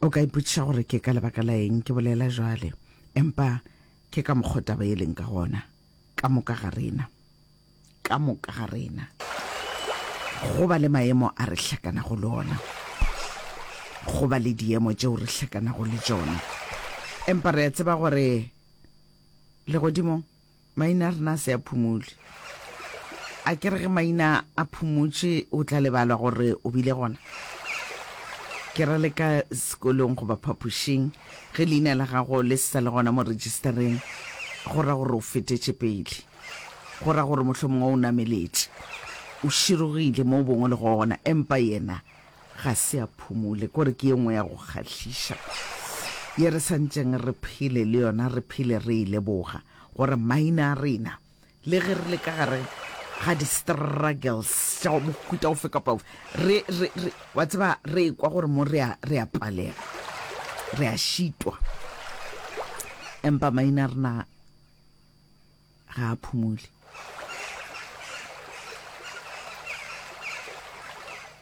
O ka ipotšiša gore ke ka lebaka la eng ke bolela jwale, empa ke ka mokgo taba e leng ka gona. Ka moka ga rena, ka moka ga rena, go ba le maemo a re hlakanago le ona, go ba le diemo tšeo re hlakanago le tšona. Empa re a tseba gore legodimong Maina a rena a se a phumule. A ke re ge maina a phumutše o tla lebalwa gore o bile gona? Ke ra le ka sekolong goba phapošing, ge leina la gago le se sa le gona mo rejistereng, go ra gore o fetetše pele. Go ra gore mohlomongwe o nameletše, o širogile mo bongwe le gona, empa yena ga se a phumule. Kore ke ye nngwe ya go kgahliša ye re sa ntšeng re phele le yona, re phele re e leboga gore maina a rena, le ge re le ka gare ga di-struggles tša mohuta ofe kapa ofe, re, re, re, wa tseba, re ekwa gore mo re a, re a palega, re a šitwa, empa maina a rena ga a phumule.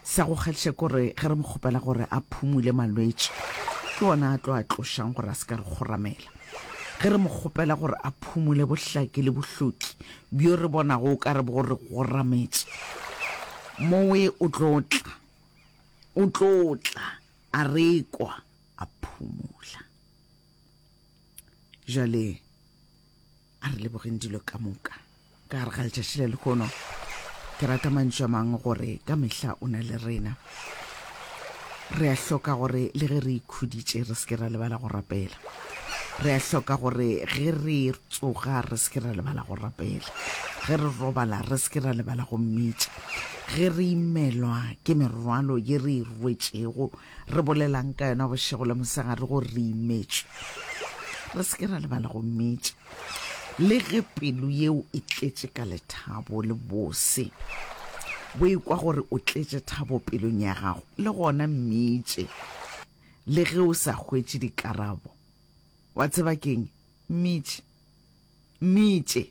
Sa go kgahliša ke gore ge re mo kgopela gore a phumule malwetši, ke ona a tlo a tlošang gore a se ka re kgoramela. Ge re mo kgopela gore a phumule bohlaki le bohloki bjo re bonago o ka re bo re gorametše, mowe o tlo tla, o tlo tla a re kwa a phumula. Jwale A re lebogeng dilo ka moka ka gare ga letšatši la lehono. Ke rata mantšu a mangwe gore ka mehla o na le rena. Re a hloka gore le ge re ikhuditše re se ke ra lebala go rapela. Re a hloka gore ge re tsoga re se ke ra lebala go rapela. Ge re robala re se ke ra lebala go mmitša. Ge re imelwa ke merwalo ye re e rwetšego, re bolelang ka yona bošego le mosegare gore re imetšwe, re se ke ra lebala go mmitša. Le ge pelo yeo e tletše ka lethabo le bose, bo ekwa gore o tletše thabo pelong ya gago, le gona mmitše. Le ge o sa hwetše dikarabo, wa tseba ke'ng? Mmitše. Mmitše.